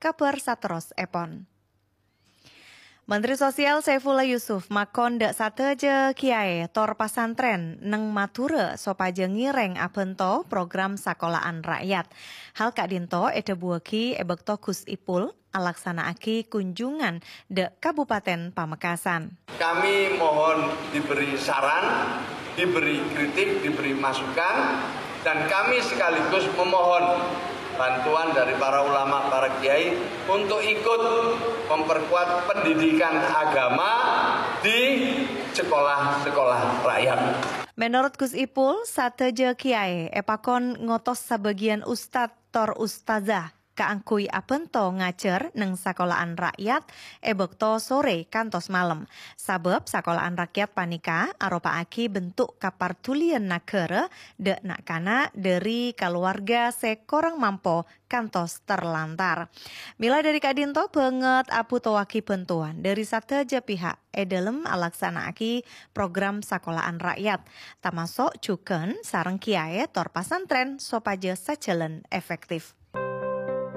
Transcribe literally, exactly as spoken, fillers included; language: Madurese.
kabhâr saterrossèpon. Menteri Sosial Saifullah Yusuf makon dâ' sadhâjâ kiyaè tor pasantrèn neng Madhurâ sopajâ ngèrèng abhânto program sakola'an ra'yat. Hal ka'dinto èdhâbuwâghi è bâkto Gus Ipul alaksana'aghi kunjungan dâ' Kabupaten Pamekasan. Kami mohon diberi saran, diberi kritik, diberi masukan, dan kami sekaligus memohon bantuan dari para ulama, para kiai untuk ikut memperkuat pendidikan agama di sekolah-sekolah rakyat. Menurut Gus Ipul, sadhâjâ kiyaè èpakon ngotos sabâgiyân ustad tor ustazah kaangghuy abhânto ngajhâr neng sakola'an ra'yat è bâkto sorè kantos malem. Sabâb sakola'an ra'yat panèka aropa'aghi bentuk kapardhuliyân naghârâ dâ' na'-kana' dâri kalowarga sè korang mampo kantos terlantar. Mèla dâri ka'dinto bângèt abhutowaghi bhântowan dâri sadhâjâ pihak è dhâlem alaksana'aghi program sakola'an ra'yat, tamaso' jhughân sareng kiyaè tor pasantrèn sopajâ sajhâlân efektif.